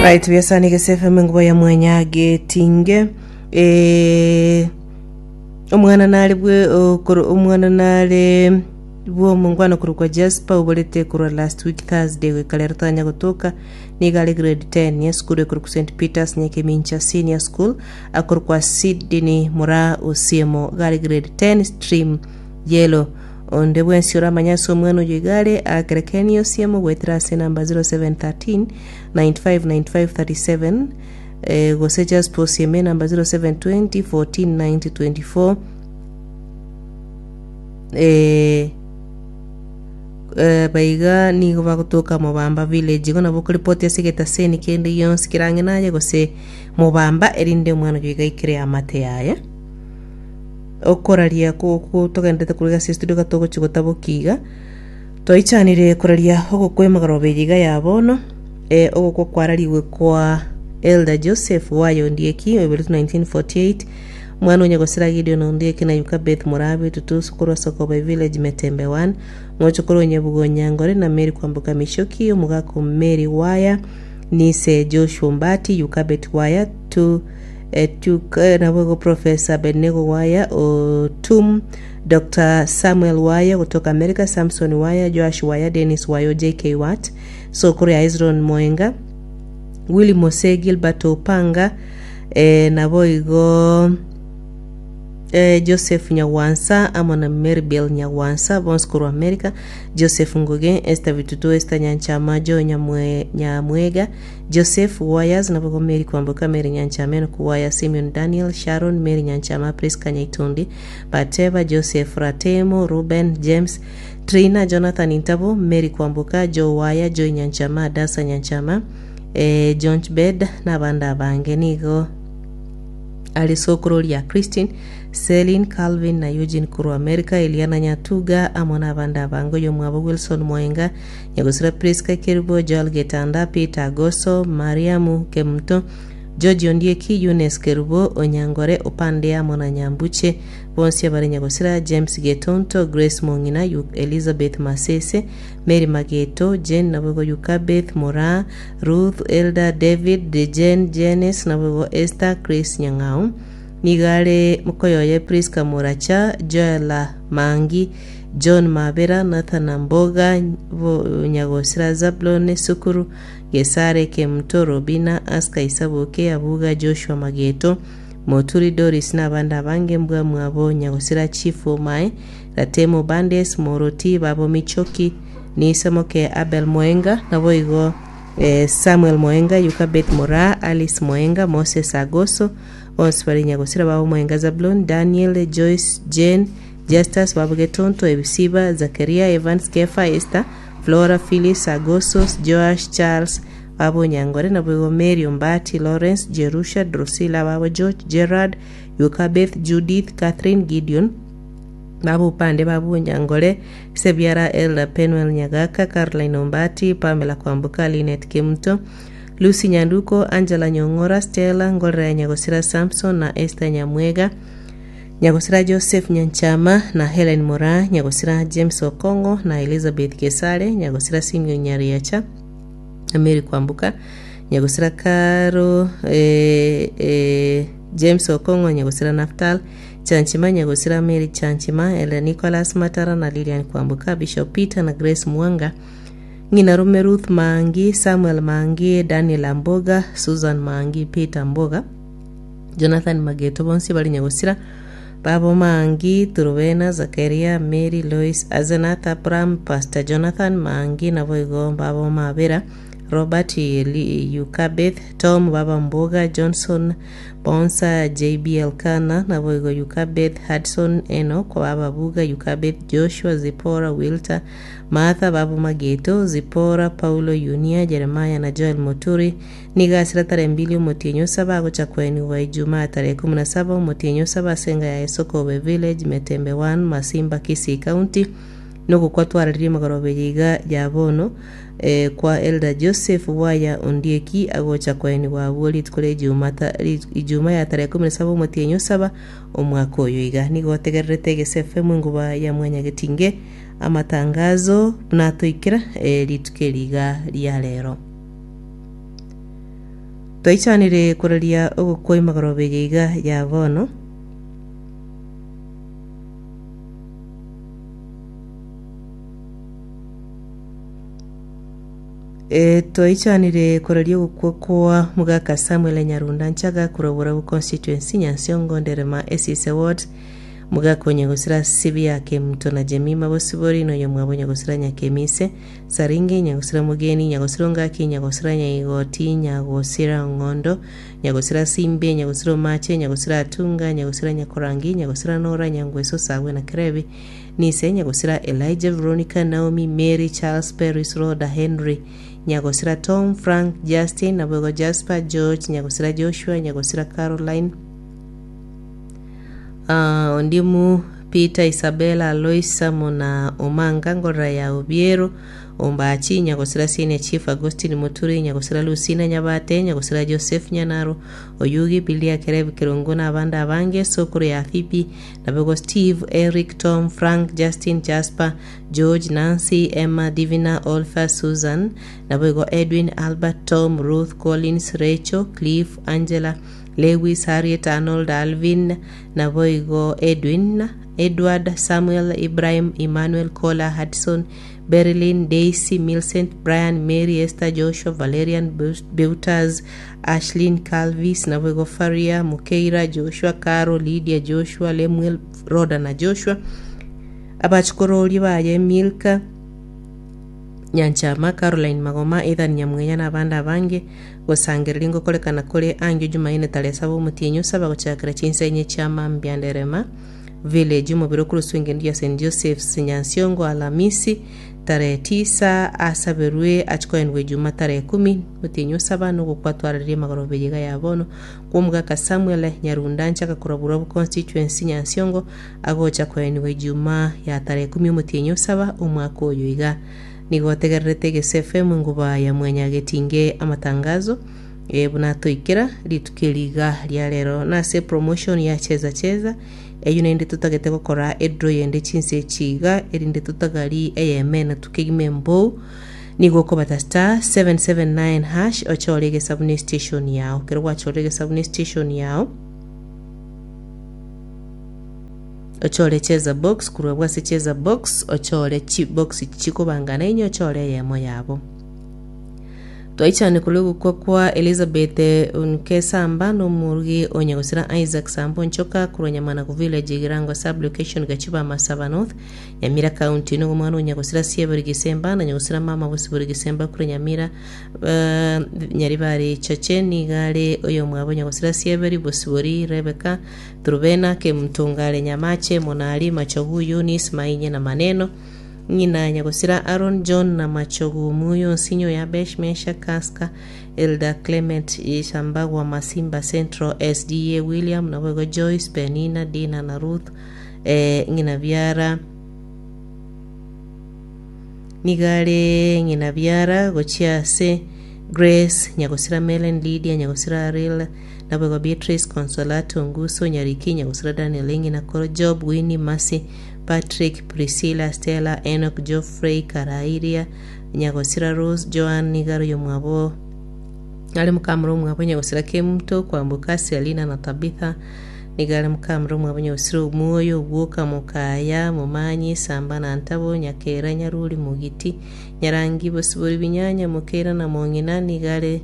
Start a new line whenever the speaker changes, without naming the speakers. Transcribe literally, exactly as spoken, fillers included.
Right, biasani gese F M nguba ya mwenya getinge eh omwana nare bwe okoro omwana nare bw'omongwana korokwa Jasper oborete korwa last week Thursday goika rero tanya gotoka. Nigo are grade ten esukuru ekorokwa Saint Peters Nyakemincha Senior School, akorokwa Sydney Mura Osiemo, iga are grade ten stream yellow. Onde bwensi oramanye ase omwana oyo igare akere Ken Osiemo goetera ase namba zero seven one three ninety-five ninety-five thirty-seven eh, gose Jasper Osiemo namba zero seven two zero fourteen ninety twenty-four. eh, eh, baiga nigo bagotoka Mobamba village. Igo nabo okoripoti ase egetaseni kende gionsi kerang'e naye gose Mobamba erinde omwana oyo iga aikere amate yaye. Okoraria ko togendete korwa ase studio gatogochi gotaboki iga twaichanire koraria ogokwa emagoroba eye iga ya bono eh, ogokwa kwararigwe kwa Elder Joseph Wayo Ondieki oiboretwe nineteen forty-eight, omwana onye gosira Gideon Ondieki na Yukabeth Murabi Tutusu korwa Sokobe village, Metembe one, mochokoro Onyebugo Nyangore na Mary Kwamboka Michoki, omogako Mary Waya, nise Joshua Mbati, Yukabeth Waya tu eh, tuk, eh, nabogo Professor Abednego Waya Otum, Doctor Samuel Waya kutoka America, Samson Waya, Joash Waya, Dennis Wayo, J K Watt, sokoro ya Ezron Moenga, Willy Mose, Gilbert Opanga, eh, naboigo eh, Joseph Nyagwansa amo na Maribel Nyagwansa bonsi korwa America, Joseph Nguge, Esther Bitutu, Esther Nyanchama, Joe Nyamwe, Nyamwega, Joseph Wayas, nabogo Mary Kwamboka, Mary Nyanchama, Enoch Waya, Simeon Daniel, Sharon Mary Nyanchama, Priska Nyaitundi, Bateva, Joseph Ratemo, Ruben James, Trina, Jonathan Intabo, Mary Kwamboka, Joe Waya, Joy Nyanchama, Dasa Nyanchama, eh, John Bed n'abandi abange. Nigo ari sokoro ria Christine, Celine, Calvin na Eugene korwa America, Eliana Nyatuga amo n'abandi abange. Oyo mwabo Wilson Moenga, Nyagosira Priska Kerubo, Joel Getanda, Peter Agoso, Mariamu Kemuto, George Ondieki, Eunice Kerubo, Onyangore Opande amo na Nyambuche bonsi abare Nyagosira, James Getonto, Grace Mong'ina, Yu- Elizabeth Masese, Mary Mageto, Jane nabogo Yukabeth Mora, Ruth, Elder David, Jane, Jenes nabogo Esther, Chris Nyang'au. Nigare mukoyoye Priska Moracha, Joela Mangi, John Mabera, Nathan Mboga, bo- Nyagosira Zablon Sukuru, Gesare Kemuto, Robina Aska, Isaboke Abuga, Joshua Mageto, Moturi Doris n'abandi abange. Mbwa mwabo Nyagosira Chief Omae Ratemo Bandes Moroti, babo Michoki, Nisamoke Abel Moenga naboigo eh, Samuel Moenga, Yukabeth Mora, Alice Moenga, Moses Agoso bonsi bari Nyagosira, babo Moenga Zablon, Daniel, Joyce, Jane, Justus, babo Getonto, Ebisiba, Zakaria, Evans, Kefa, Esther, Flora, Phyllis Agosos, Joash, Charles, babo Nyangore naboigo Mary Ombati, Lawrence, Jerusha, Drusilla, babo George, Gerard, Yukabeth, Judith, Catherine, Gideon, babo upande babo Nyangore, Sebiara Elda, Penuel Nyagaka, Caroline Ombati, Pamela Kwambuka, Linet Kimto, Lucy Nyanduko, Angela Nyong'ora, Stella Ngorera, Nyagosira Samson na Esther Nyamwega, Nyagosira Joseph Nyanchama na Helen Mora, Nyagosira James Okongo na Elizabeth Kesare, Nyagosira Simeon Nyariacha na Mary Kwambuka, Nyagosira Karo, eh, eh, James Okongo, Nyagosira Naftal Chanchima, Nyagosira Mary Chanchima, Ela Nicholas Matara na Lilian Kwambuka, Bishop Peter na Grace Mwanga, ng'ina rume Ruth Mangi, Samuel Mangi, Daniel Amboga, Susan Mangi, Peter Mboga, Jonathan Mageto bonsi bari Nyagosira, babo Mangi, Turubena, Zakaria, Mary, Lois, Azenath, Abraham, Pastor Jonathan Mangi naboigo babo Mabera, Robert, Eli, Yukabeth, Tom, baba Mboga, Johnson Bonsa, J B Elkana naboigo Yukabeth, Hudson, Enoch, baba Buga, Yukabeth, Joshua, Zipora, Wilter, Martha, babo Mageto, Zipora, Paulo, Yunia, Jeremiah na Joel Moturi. Nigasira tarehe mbili omotienyi osaba agocha kweniwa Ijumaa tarehe kumi na saba omotienyi osaba ase ya Esokobe village, Metembe one, Masimba, Kisii County. Nogokwa twararirie magoroba iga ya bono eh, kwa Elder Joseph Waya Ondieki agocha kweniwa abwo rituko ria Ijuma ta- ri- Ijuma ya tarehe kumi na saba omotienyi osaba omwaka oyo iga. Nigo otegererete Egese F M enguba ya mwanya getinge amatangazo natoikera eh, rituko eriga ria rero. Twaichanire koraria ogokwa emagoroba eye iga ya bono. E, twaichanire koraria ogokwa kwa mugaka Samuel Nyarunda Nchaga korwa Borabu constituency Nyansiongo Nderema Esise ward mugaka onyagosira sibi yake mto na Jemima Bosibori noyo mwabo nyagosira Nyakemise Saringe nyagosira Mugeni nyagosira Ngaki nyagosira Nyaigoti nyagosira Ng'ondo nyagosira Simbe nyagosira Omache nyagosira Atunga nyagosira Nyakorangi nyagosira Nora Nyangweso Sagwe na Kerebi Nise nyagosira Elijah Veronica Naomi Mary Charles Paris Roda Henry nyagosira Tom Frank Justin Nabogo Jasper George nyagosira Joshua nyagosira Caroline uh, Ondimu Peter Isabella Alois Mona Omanga Ngorora ya Obiero Ombachi nyagosira Senior Chief Agustin Muturi nyagosira Lucina Nyabate nyagosira Joseph Nyanaro Oyugi Bilia Kerebi Kirungu na abandi abange Sokuru ya Fibi Nabego Steve Eric Tom Frank Justin Jasper George Nancy Emma Divina Olfa Susan Nabego Edwin Albert Tom Ruth Collins Rachel Cliff Angela Lewis Harriet Arnold Alvin Naboigo Edwin Edward Samuel Ibrahim Emmanuel Kola Hudson Berlin Daisy Millicent Brian Mary Esther Joshua Valerian Beuters Ashlyn Calvis Naboigo Faria Mukeira Joshua Caro Lydia Joshua Lemuel Roda na Joshua abachikorori baye Milka Nyanchama Caroline Magoma Ethan Nyamwenya na abandi abange gosangereria ngokorekana kore angio Jumaine tarehe saba omotienyi osaba gochakera chinsa chia mambia Nderema village omobere okoroswa engendo ya St Joseph's Nyansiongo Alamisi tarehe tisa asaberwe achikoendwa ejuma tarehe kumi omotienyi osaba nogokwatwararia emagoroba eyega ya bono kwa omogaka Samuel Nyarunda Nchaka korwa Borabu constituency Nyansiongo agocha koenigwa ejuma ya tarehe kumi omotienyi osaba omwaka oyo iga nigo otegererete Egese F M nguba ya mwenya getinge amatangazo e, buna toikera rituko eriga ria rero nase promotion ya cheza cheza eyo naende totagete gokora edraw yende chinse echiga erinde totagari eyemene tukegime embou nigo okobata star seven seven nine hash ochore egesabuni station yao kero gwachorire egesabuni station yao ochore cheza box kurwa bwase cheza box ochore chi box chikobangana inye ochore eyemo yabo twaichane kuri kwa Elizabeth Nkesamba n'omurugi onyagosira Isaac Sambo Nchoka kurwa Nyamana ku village Girango sub location Gachiba Masaba North Nyamira County no mwana onyagosira Sieberi Gisemba na nyagosira mama Bosibori Gisemba kurwa Nyamira uh, Nyaribari Chache nigare oyo mwabo nyagosira Sieberi Bosibori Rebecca Trubena Kemtungare Nyamache Monali Machogu Eunice Mainye na maneno ng'ina nyagosira Aaron John na Machogu Muyo Nsinyo ya Besh Mesha Kaska Elda Clement Ishambagwa Masimba Central S D A William na Wego Joyce Penina Dina na Ruth eh, ng'ina biara nigare ng'ina biara gochiase Grace nyagosira Melen Lydia nyagosira Ariel na Wego Beatrice Consolato Nguso Nyariki nyagosira Daniel ng'ina Koro Job Winnie Mercy Patrick, Priscilla, Stella, Enoch, Geoffrey, Karairia, Nyagosira Rose, Joan, Nigaro yomwabo, Ale mukamuro mwabo Nyagosira Kemto, Kwambuka, Selina na Tabitha, Nigare mukamuro mwabo Nyagosira Omuoyo, Ogwoka, Mukaya, Mumanyi, Samba na Ntabo, Nyakera, Nyaruri, Mugiti, Nyarangi, Bosibori Binyanya, Mukera na Mong'ina, Nigare